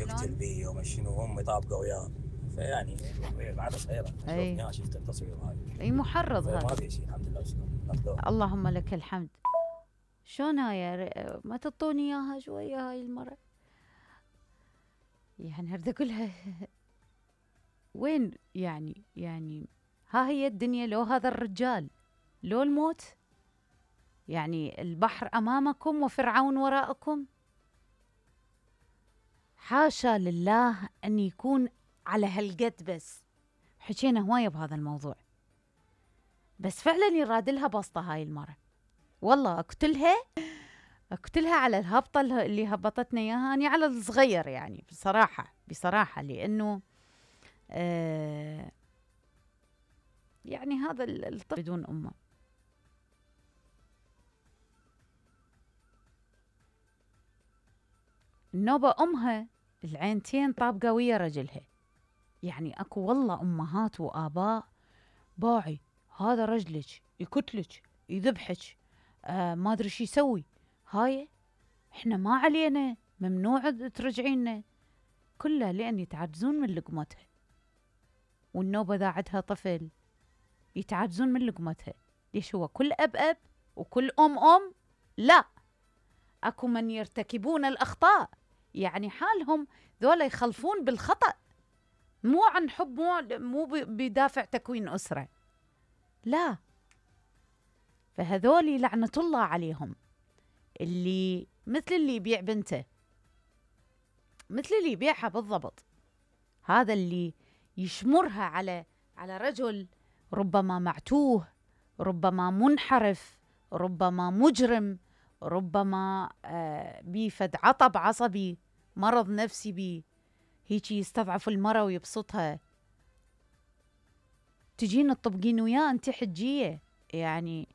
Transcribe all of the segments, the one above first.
ويقتل بي وما شنو، وهم يطابقوا وياه. فيعني بعد صغيره شوفني شفت التصوير هاي. اي محرض هذا. ما في شيء الحمد لله. اللهم لك الحمد. شلون هاي ما تعطوني اياها شويه هاي المره؟ يعني اريد اقولها وين يعني ها هي الدنيا، لو هذا الرجال لو الموت، يعني البحر امامكم وفرعون وراءكم. حاشا لله ان يكون على هالقد. بس حكينا هوايه بهذا الموضوع، بس فعلا يراد لها بسطه هاي المره. والله اقتلها على الهبطه اللي هبطتنا اياها، اني على الصغير يعني بصراحه لانه يعني هذا الطفل بدون امه. النوبه امها العينتين طابقه ويا رجلها. يعني اكو والله امهات واباء باعي هذا رجلك يقتلك يذبحك ما ادري شو يسوي. هاي احنا ما علينا، ممنوع ترجعينا، كلها لان يتعجزون من لقمتها. والنوبه ذا عندها طفل يتعجزون من لقمتها. ليش هو كل اب وكل ام؟ لا، اكو من يرتكبون الاخطاء، يعني حالهم ذولا يخلفون بالخطأ، مو عن حب، مو بدافع تكوين أسرة، لا. فهذولي لعنة الله عليهم، اللي مثل اللي يبيع بنته، مثل اللي يبيعها بالضبط. هذا اللي يشمرها على رجل ربما معتوه، ربما منحرف، ربما مجرم، ربما بيفد عطب عصبي، مرض نفسي بيه، هيك يستضعف المرأة ويبسطها. تجين تطبقين وياه انت حجية، يعني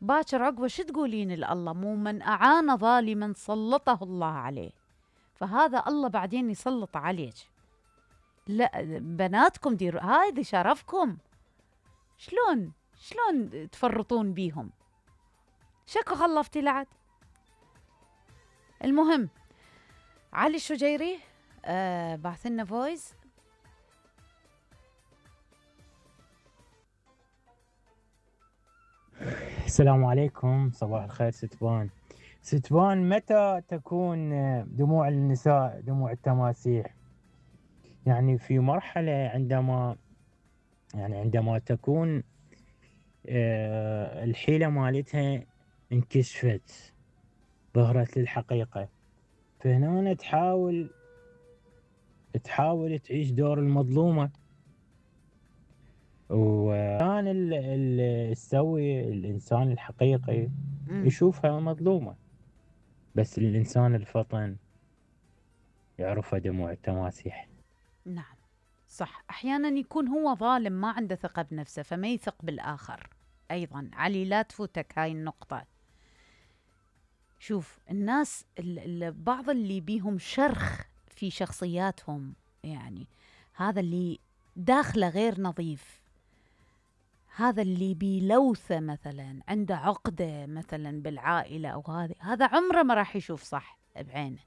باكر عقبه شو تقولين لله؟ مو من أعان ظالما سلطه الله عليه. فهذا الله بعدين يسلط عليك. لا بناتكم ديروا هذا شرفكم. شلون تفرطون بيهم؟ شكو خلفتي لعد. المهم علي الشجيري بعث لنا فويس. السلام عليكم، صباح الخير ستبان متى تكون دموع النساء دموع التماسيح؟ يعني في مرحلة عندما تكون الحيلة مالتها انكشفت، ظهرت للحقيقة، فهنا تحاول تعيش دور المظلومة، وكان اللي يسوي الإنسان الحقيقي يشوفها مظلومة، بس الإنسان الفطن يعرفها دموع التماسيح. نعم صح، أحيانا يكون هو ظالم ما عنده ثقة بنفسه فما يثق بالآخر. أيضا علي لا تفوتك هاي النقطة. شوف الناس بعض اللي بيهم شرخ في شخصياتهم، يعني هذا اللي داخله غير نظيف، هذا اللي بيلوثه مثلا، عنده عقدة مثلا بالعائلة أو هذا عمره ما راح يشوف صح بعينه.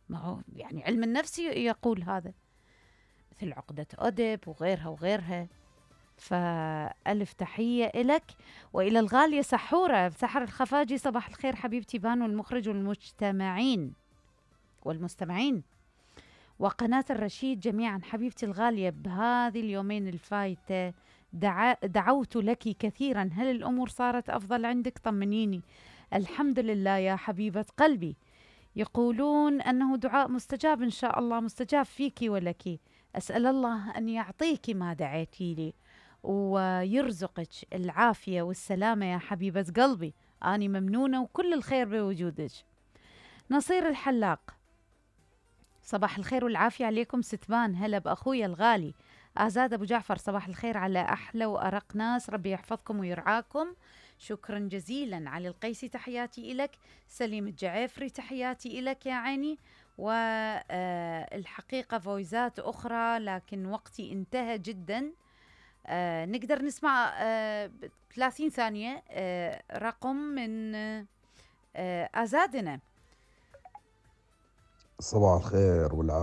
ما هو يعني علم النفس يقول هذا، مثل عقدة أدب وغيرها. فألف تحية إلك وإلى الغالية سحورة سحر الخفاجي. صباح الخير حبيبتي بان والمخرج والمستمعين وقناة الرشيد جميعا. حبيبتي الغالية بهذه اليومين الفايتة دعوت لك كثيرا، هل الأمور صارت أفضل عندك؟ طمنيني. الحمد لله يا حبيبة قلبي، يقولون أنه دعاء مستجاب إن شاء الله، مستجاب فيك ولك. أسأل الله أن يعطيك ما دعيتي لي ويرزقك العافية والسلامة يا حبيبة قلبي. أني ممنونة وكل الخير بوجودك. نصير الحلاق صباح الخير والعافية عليكم ستبان. هلا بأخويا الغالي آزاد أبو جعفر. صباح الخير على أحلى وأرق ناس، ربي يحفظكم ويرعاكم. شكرا جزيلا. علي القيسي تحياتي إلك. سليم الجعيفري تحياتي إلك يا عيني. والحقيقة فويزات أخرى لكن وقتي انتهى جدا. نقدر نسمع 30 ثانية رقم من آزادنا. صباح الخير والعافية.